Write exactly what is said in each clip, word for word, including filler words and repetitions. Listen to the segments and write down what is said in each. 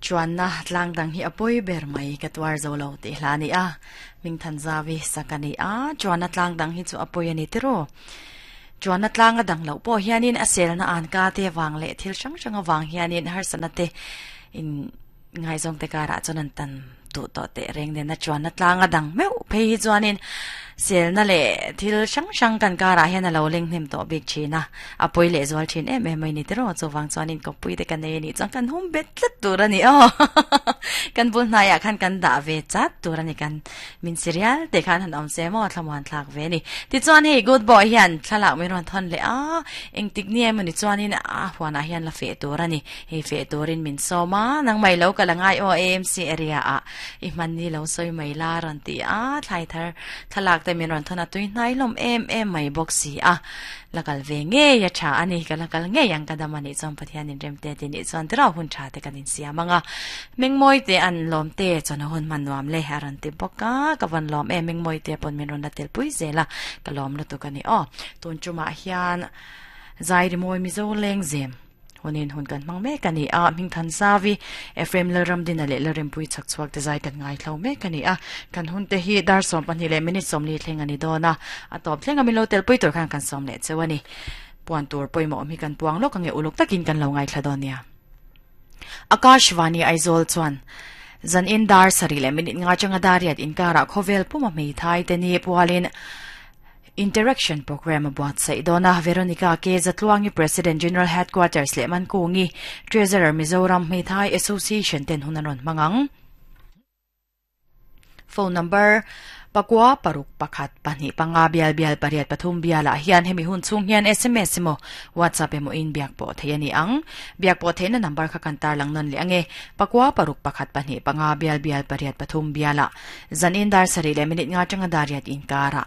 Chuan na tlang dang hi apoi ber mai ka tuar zo lo ti hla ni a ming than zawi sakani a chuan na tlang dang hi chu apoi ani tiro chuan na tlang a dang lo po hianin a sel na an ka te wang le thil sang sang awang hianin har sana te in ngai zong te kara chuan an tan tu to te reng den na chuan na tlang a dang meu phei hi chuanin sel na le thil sang sang kan kara hian a lo leng hnem to bik thina apoi le zual thin em em mai ni tiro chu wang chuanin ko pui te kan nei ni chuan kan hum bet tlat tur ani o kan bul hna ya khan kan da ve chat tur ani kan min serial te khan han om se mo thlamuan thlak ve ni ti chuan hei good boy hian thlalak mi ron thon le a eng tik ni em ni chuanin a huana hian la fe tur ani hei fe turin min soma nang mai lo ka langai o A M C area a i man ni lo soi mai la ron ti a thlai thar thalak te min ron thon a tui hnai lom em em mai bawk si a lakal ve nge ya tha ani ka lakal nge yang ka damani chom Pathian in rem te ti ni chuan tira hun tha te kan in siam anga mengmoi te an lom te chon hun man nuam le haran ti boka ka van lom e mengmoi te pon min ron la tel pui zela ka lom lu tu ka ni o tun chuma hian zai ri moi mizo leng zem hunin hun kan mang me kani a ming than savi F M Laram din le larem pui chak chuak te zai kan ngai thlo me kani a kan hun te hi dar som pani le minute som li thleng ani dona a top thleng ami lo tel pui tur khan kan som le chewani puan tur poimo mi kan puang lo kange uluk takin kan lo ngai thla donia. Akashvani Aizawl chuan zan in dar sari le minute nga changa dariat in kara khovel puma mei thai te ni pualin interaction program buat sai dona. Veronica Ke Zatluangi, President, General Headquarters, le man kungi, Treasurer, Mizoram Meithai Association ten hunaron mangang. Phone number pakua paruk pakhat pahnih panga bial bial pariat pathum biala hian hemi hun chung hian S M S mo WhatsApp emo in biak po thei ani ang biak po theina number kha kan tar lang non le ange pakua paruk pakhat pahnih panga bial bial pariat pathum biala. Zan in dar sari le minute nga changa dariat in kara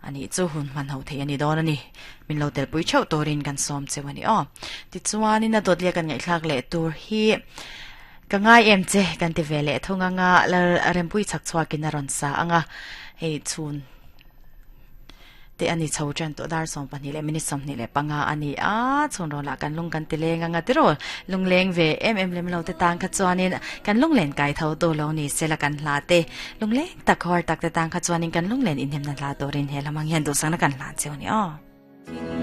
ani chu hun man ho thei ani don ani min lo tel pui chau torin kan som chewani o. Ti chuan in a dot le kan ngai thlak le tur hi ka ngai em che kan ti vele thunga nga la rempui chak chhuakin a ron sa anga. Hei chun te ani chho chan to dar som pahnih le minute som ni le panga ani a chun ro la kan lung kan ti leng anga tiro lung leng ve em em lem lo te tang kha chuanin kan lung len kai tho to lo ni sela kan hla te lung leng tak hor tak te tang kha chuanin kan lung len in hem na hla torin he lamang hian du sang na kan hla cheu ni o.